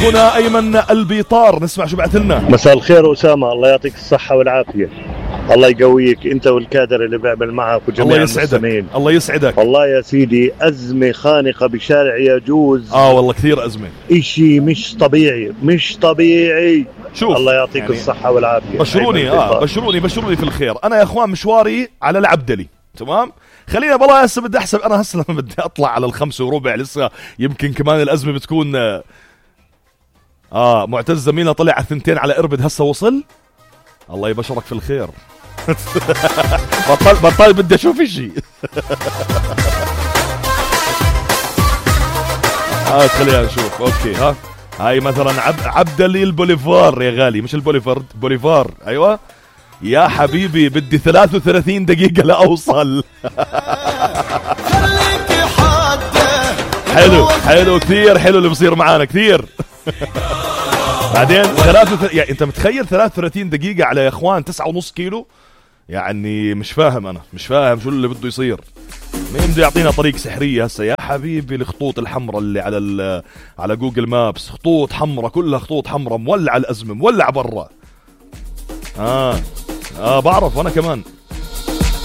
اخونا ايمن البيطار، نسمع شو بعث لنا. مساء الخير أسامة، الله يعطيك الصحة والعافية، الله يقويك انت والكادر اللي بيعمل معك وجميع المستمعين. الله يسعدك. والله يا سيدي أزمة خانقة بشارع يجوز. والله كثير أزمة، اشي مش طبيعي مش طبيعي. شوف الله يعطيك يعني الصحة والعافية. بشروني في الخير. انا يا اخوان مشواري على العبدلي، تمام؟ خلينا بالله هسه بدي احسب، انا هسه لما بدي اطلع على 5:15 لسه يمكن كمان الازمة بتكون معتز زميلنا طلع على 2 على اربد، هسه وصل. الله يبشرك في الخير. بطل بدي اشوف اشي. خلينا نشوف. اوكي هاي مثلا عبدلي البوليفار يا غالي، مش بوليفار. ايوه يا حبيبي، بدي 33 دقيقة لاوصل. حلو كثير، حلو اللي بصير معانا كثير. بعدين يعني انت متخيل 33 دقيقة على يا اخوان 9.5 كيلو؟ يعني مش فاهم شو اللي بده يصير. مين بده يعطينا طريق سحرية هسه يا حبيبي؟ الخطوط الحمراء اللي على جوجل مابس، خطوط حمراء، كلها خطوط حمراء، مولع الأزمة، مولع برا. بعرف وانا كمان.